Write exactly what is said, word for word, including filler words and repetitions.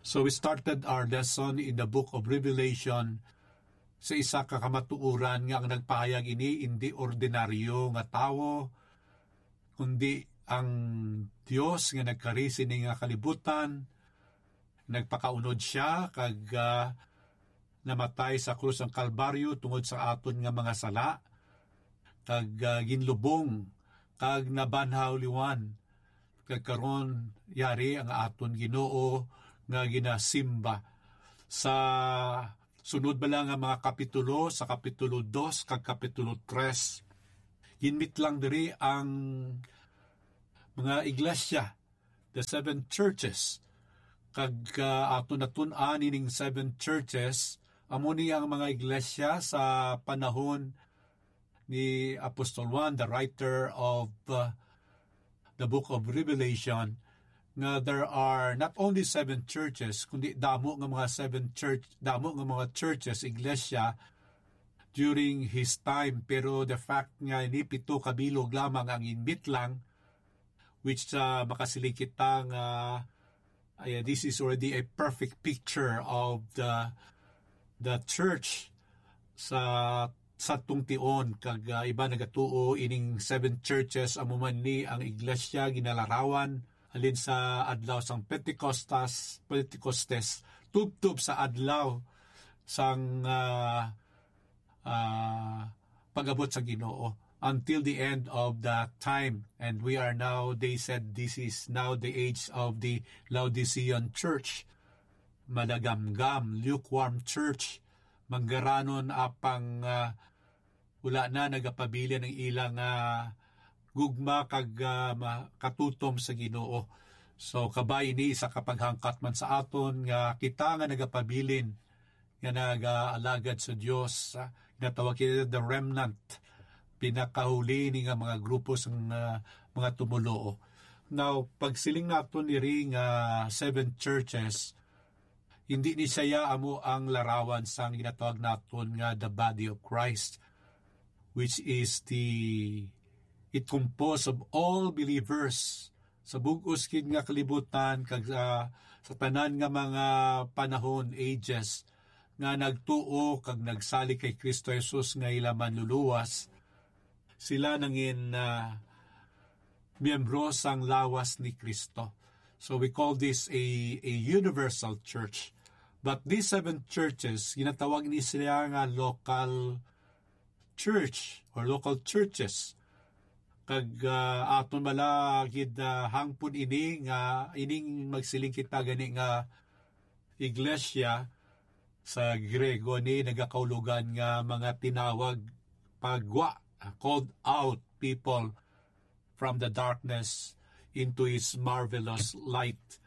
So we started our lesson in the book of Revelation sa isa ka kamatuoran nga ang nagpahayag ini indi ordinaryo nga tawo, kundi ang Dios nga nagkari sini nga kalibutan. Nagpakaunod siya kag, ah, namatay sa krus sang Kalbaryo tungod sa aton nga mga sala, kag, ah, ginlubong kag nabanhaw liwan. Kag karon, yari ang aton Ginoo nga ginasimba. Sa sunod bala nga mga kapitulo, sa kapitulo dos kag kapitulo tres, ginmitlang diri ang mga iglesia, the seven churches. Kag, ah, aton natun-an ining seven churches, amo ni ang mga iglesia sa panahon ni Apostol Juan, the writer of, uh, the book of Revelation, nga there are not only seven churches, kundi damo nga mga seven church, damo nga mga churches, iglesia, during his time. Pero the fact nga ni pito ka bilog lamang ang inbitlang, which, uh, makasiling kita nga, uh, this is already a perfect picture of the the church sa sa tungtion, kag, ah, iba nagatuo ining seven churches amo man ni ang iglesia ginalarawan halin sa adlaw sang Pentecostas, Pentecostes, tubtob sa adlaw sang, ah, ah, pag-abot sa Ginoo, until the end of the time. And we are now, they said, this is now the age of the Laodicean church. Madagamgam, lukewarm church, manggaranon apang, ah, wala na nagapabilin ang ilang, ah, gugma kag, ah, ma-, katutom sa Ginoo. So, kabay ini isa ka paghangkat man sa aton nga kita nga nagapabilin, nga nagaalagad sa Dios, ah, ginatawag kita the remnant, pinakahuli ni nga mga grupo sang, ah, mga tumoluo. Now, pagsiling naton diri nga seven churches, hindi ni siya amo ang larawan sang ginatawag naton nga the body of Christ, which is the, it composed of all believers sa bug-os gid nga kalibutan, kag sa, sa tanan nga mga panahon, ages, nga nagtuo kag nagsalig kay Kristo Jesus nga ila Manluluwas. Sila nangin, ah, miyembro sang lawas ni Kristo. So we call this a, a universal church. But these seven churches, ginatawag ni sila nga local church or local churches. Kag, ah, aton bala gid, ah, hangpon ini nga ining magsiling kita gani nga iglesia sa Griego ni nagakaulogan nga mga tinawag pagwa, called out people from the darkness into his marvelous light.